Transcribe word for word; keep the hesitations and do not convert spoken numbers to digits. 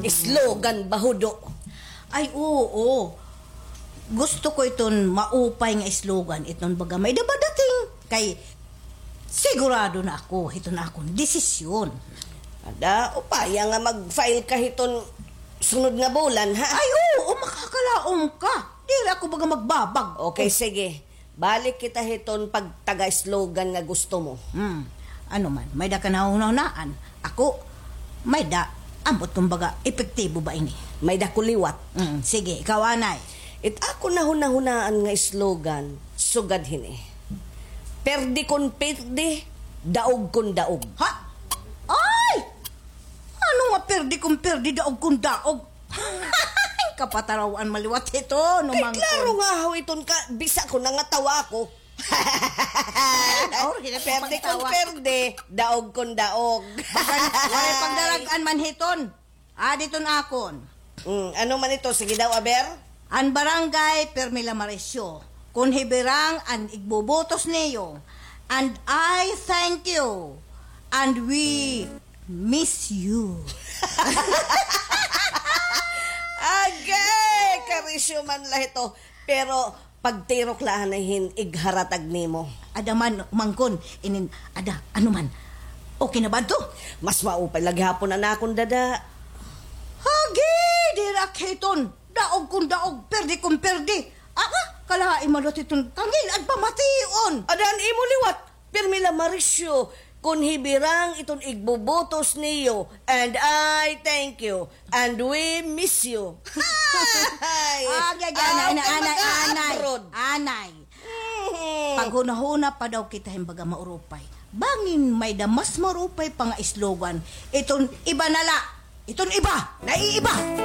Slogan ba, Hudo? Ay, oo. Gusto ko iton maupay nga slogan, iton baga may-ada badating kay sigurado na ako hiton akon desisyon. Ada, upaya nga mag-file ka hiton sunod nga bulan, ha? Ay, oo, makakalaom ka. Diri ako baga magbabag. Okay, sige. Balik kita hiton pagtaga-slogan nga gusto mo. Hmm. Ano man, may-ada ka nahunahunaan. Ako, may-ada, ambot kumbaga, epektibo ba ini? May-ada ko liwat. Hmm, sige, ikaw, anay. It akon nahunahunaan nga slogan, sugad hini. Perdi kon perdi, daog kon daog. Ha? Ay! Ano nga perdi kon perdi, daog kon daog? Kapataraw-an man liwat hiton, no? Kay klaro nga haw iton ka, bisa ko nangatawa ako. Or, hila ko pagtawa. Perdi kon perdi, daog kon daog. Bagan, walay pagdarag-an man hiton. Adi iton akon. Mm, ano man ito? Sige daw, aber. An barangay, pirmi la Marisyo. Kon hibirang an igbubutos niyo. And I thank you. And we miss you. Agay! Karisyo man la ito. Pero pagtirok la anay hin igharatag nimo. Ada man, mangkon, inin, ada, ano man. Okay na ba ito? Mas maupay la gihapon an akon dada. Hagi, diri ak hiton. Daog kon daog, perdi kon perdi. Aka, kalahi man liwat hiton kangil-ad pamation. Ada an imo liwat. Pirmi la Marisyo, kon hibirang iton igbubutos niyo, and I thank you, and we miss you. Ay, ah, gagana, anay, anay, anay, anay. Mhm. Paghunahuna pa daw kita hin baga maurupay. Bangin may-ada mas maurupay pa nga slogan. Iton iba na la. Iton iba. Naiiba.